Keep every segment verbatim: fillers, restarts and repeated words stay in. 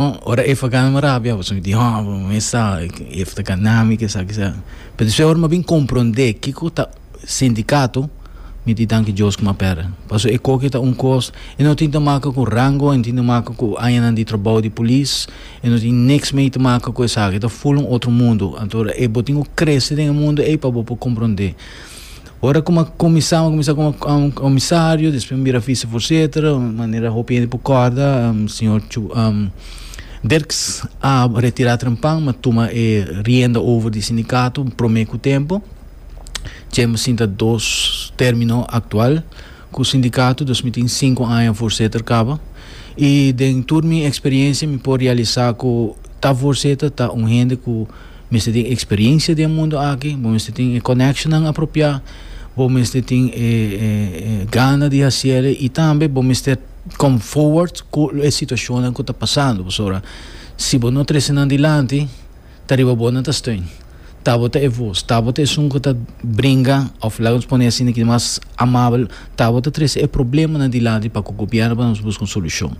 Ora e gana mi rabia, pasobra mi di, oh, mi sa, e ta gana mi, ku sa, ku sa. Pero despues ora mi bin komprondé kiko ta sindikato, mi di danki Dios ku m'a pèrdè. Pasobra e kos ta un kos, e no tin te maken ku rango, e no tin te maken ku añanan di trabou di polis, e no tin niks mee te maken ku esaki, ta full un otro mundo. Anto, e bo tin ku krese den e mundo ei pa bo komprondé. Ora ku m'a kuminsá, kuminsá komo um, komisario, despues bira vicevoorzitter, manera hopi hende por kòrda, um, señor Chu, um, Dirks a retirá trempan, m'a tuma e rienda over di sindikato promé ku tempu. Tin sinta dos término aktual ku sindikato, dos mil i sinku aña voorzitter kaba. I den tur mi eksperensia mi por realisá ku ta voorzitter ta un hende ku mester tin eksperensia den mundu aki, bo mester tin e connection apropiá, bo mester tin e, e, e gana di hasi i tambe bo mester come forward ku e situashon ku ta pasando. Pasobra si bo no trese nan dilanti, ta riba bo nan ta steun. Ta bo ta e voz, ta bo ta esun ku ta bringa, òf laga nos pone asina ku mas amabel, ta bo ta trese e problemanan dilanti pa ku gobièrnu pa nos buska un solushon.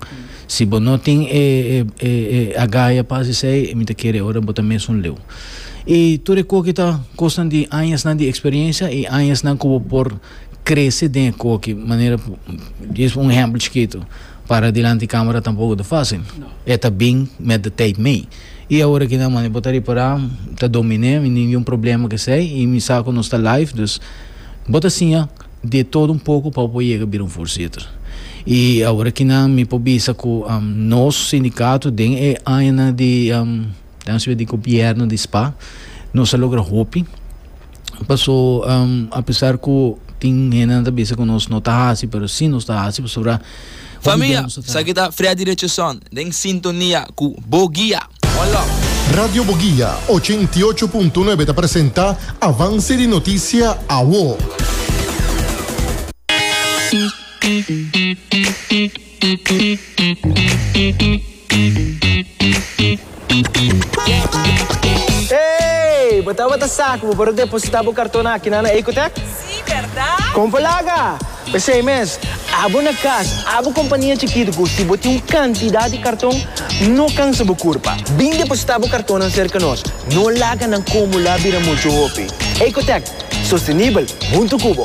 Si bo no tin e, e, e, e agallas pa esei, mi ta kere ora bo ta mes un leu. I tur e kos ta kosnan di añanan di eksperensia i añanan ku bo por krese den kualke manera. Djis un ehèmpel chikitu: para dilanti kamera tampoko ta fásil. E ta bin met de tijd mee. I awor aki nan, man, bo ta ripará, ta dominá, ningun problema ku esei, i mi sa ku nos ta live, dus bo ta siña di todo un poko pa por yega bira un voorzitter. I awor aki nan mi por bisa ku um, nos sindikato den e aña di um, di gobièrnu di S P A, nos a logra hopi. Paso, um, apesar ku tin hende ta bisa ku nos no ta hasi, pero si nos ta hasi, pasobra Famia, esaki ta Freddy Richardson, den sintonia ku Boguia. One love. Radio Boguia ochenta i ocho punto nuebe ta presentá Avanse di Notisia Awo. Hey, bo tabata sa ku bo por depositá bo karton aki na Ecotech? Si, berdat? Kon laga? P'esei mes, abo na kas, abo kompania chikitu, ku si bo tin un kantidat di karton, no kansa bo kurpa. Bin depositá bo karton serka nos. No laga nan akumulá bira muchu hopi. Ecotech, sostenibel, huntu ku bo.